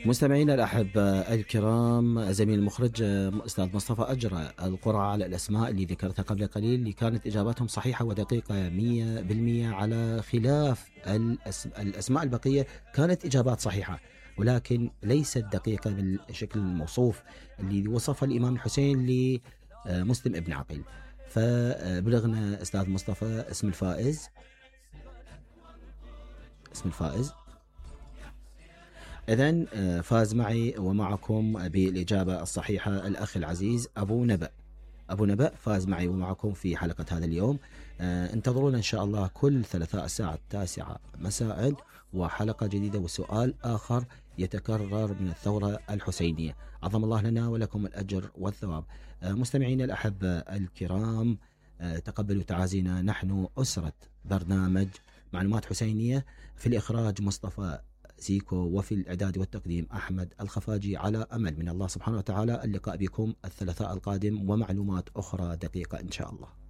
مستمعينا الأحبة الكرام، زميل المخرج أستاذ مصطفى أجرى القرعة على الأسماء اللي ذكرتها قبل قليل اللي كانت إجاباتهم صحيحة ودقيقة 100%، على خلاف الأسماء البقية كانت إجابات صحيحة ولكن ليست دقيقة بالشكل الموصوف اللي وصفها الإمام الحسين لمسلم ابن عقيل. فبلغنا أستاذ مصطفى اسم الفائز. إذن فاز معي ومعكم بالإجابة الصحيحة الأخ العزيز أبو نبأ فاز معي ومعكم في حلقة هذا اليوم. انتظرونا إن شاء الله كل ثلاثاء الساعة 9 مساء وحلقة جديدة وسؤال آخر يتكرر من الثورة الحسينية. عظم الله لنا ولكم الأجر والثواب. مستمعين الأحبة الكرام، تقبلوا تعازينا، نحن أسرة برنامج معلومات حسينية، في الإخراج مصطفى زيكو، وفي الإعداد والتقديم أحمد الخفاجي، على أمل من الله سبحانه وتعالى اللقاء بكم الثلاثاء القادم ومعلومات أخرى دقيقة إن شاء الله.